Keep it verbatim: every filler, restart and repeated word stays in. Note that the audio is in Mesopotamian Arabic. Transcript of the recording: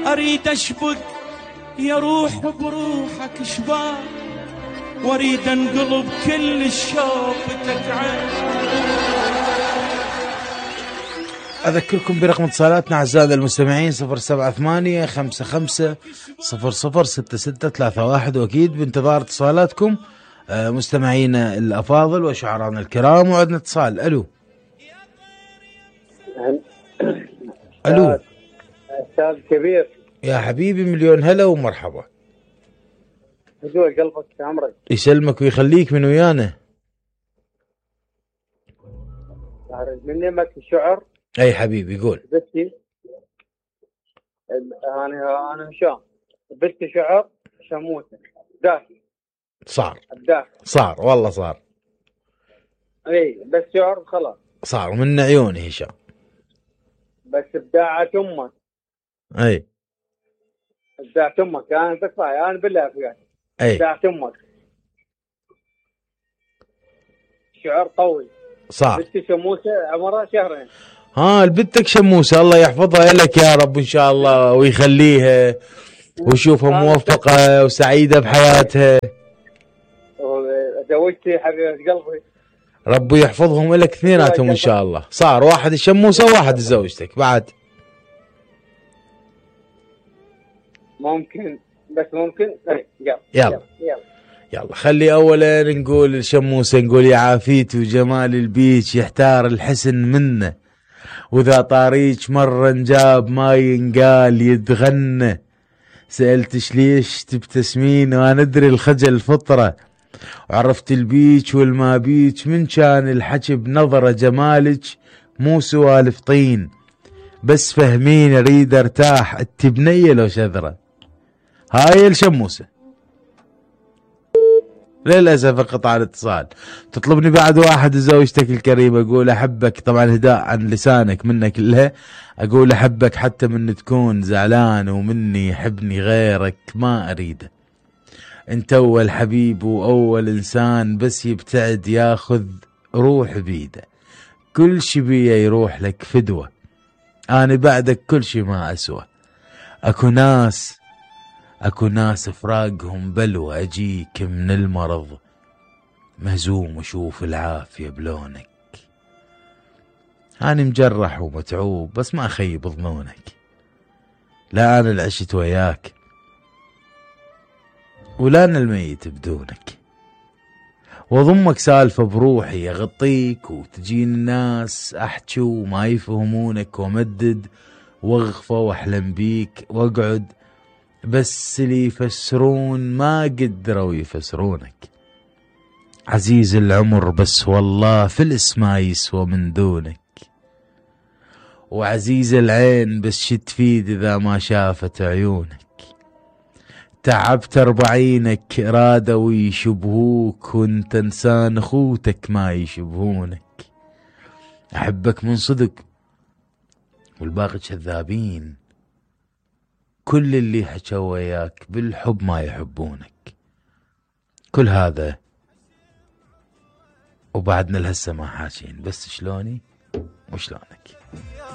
اريد اشبك يا روح بروحك شباك، واريد انقلب كل شوفتك عين. أذكركم برقم اتصالاتنا أعزائنا المستمعين صفر سبعة ثمانية خمسة خمسة صفر صفر ستة ستة ثلاثة واحد، وأكيد بانتظار اتصالاتكم مستمعينا الأفاضل وشعرانا الكرام. وعندنا اتصال. ألو ألو أستاذ كبير، يا حبيبي مليون هلا ومرحبا. هدوء قلبك يا عمرك، يسلمك ويخليك من ويانا. من نمك الشعر. أي حبيبي قول. بنتي أنا أنا هشام، بنتي شعر شموسة داخل. صار الداخل صار والله صار. اي بس شعر خلاص صار من عيوني هشام. بس ابداعة امك. اي ابداعة امك انا تكفى انا بالله فيك. اي ابداعة امك شعر قوي. صار. بنتي شموسة عمرها شهرين. ها البنتك شموسة الله يحفظها لك يا رب ان شاء الله ويخليها ويشوفها موفقة وسعيدة بحياتها. زوجتي حبيبة قلبي، ربي يحفظهم لك اثنيناتهم ان شاء الله. صار واحد الشموسة وواحد زوجتك بعد. ممكن بس ممكن. يلا يلا يلا, يلا. خلي اولا نقول الشموسة نقول يا عافيت وجمال البيج يحتار الحسن منه، واذا طاريج مرة نجاب ما ينقال يتغنى. سألتش ليش تبتسمين وانا ادري الخجل فطرة، وعرفت البيج والما بيج من كان الحكي بنظرة جمالك مو سوالف طين. بس فهمين اريد ارتاح انت بنية لو شذرة. هاي الشموسة. للأسف انقطع الاتصال. تطلبني بعد واحد زوجتك الكريمة اقول احبك، طبعا هداء عن لسانك منك لها، اقول احبك حتى من تكون زعلان ومني يحبني غيرك ما اريده. انت اول حبيب واول انسان بس يبتعد ياخذ روح بيده، كل شي بيه يروح لك فدوة، انا بعدك كل شي ما اسوى. اكو ناس اكو ناس فراقهم بلوى، اجيك من المرض مهزوم وشوف العافية بلونك. انا مجرح ومتعوب بس ما اخيب ظنونك، لا انا العشت وياك ولا انا الميت بدونك. واضمك سالفة بروحي اغطيك وتجين الناس احكي وما يفهمونك، وامدد واغفى واحلم بيك واقعد بس اللي يفسرون ما قدروا يفسرونك. عزيز العمر بس والله فلس ما يسوى من دونك، وعزيز العين بس شي تفيد اذا ما شافت عيونك. تعبت اربعينك رادوا يشبهوك وانت انسان اخوتك ما يشبهونك. احبك من صدق والباقي كذابين، كل اللي حكوا وياك بالحب ما يحبونك. كل هذا وبعدنا لهسه ما حاكين، بس شلوني وشلونك.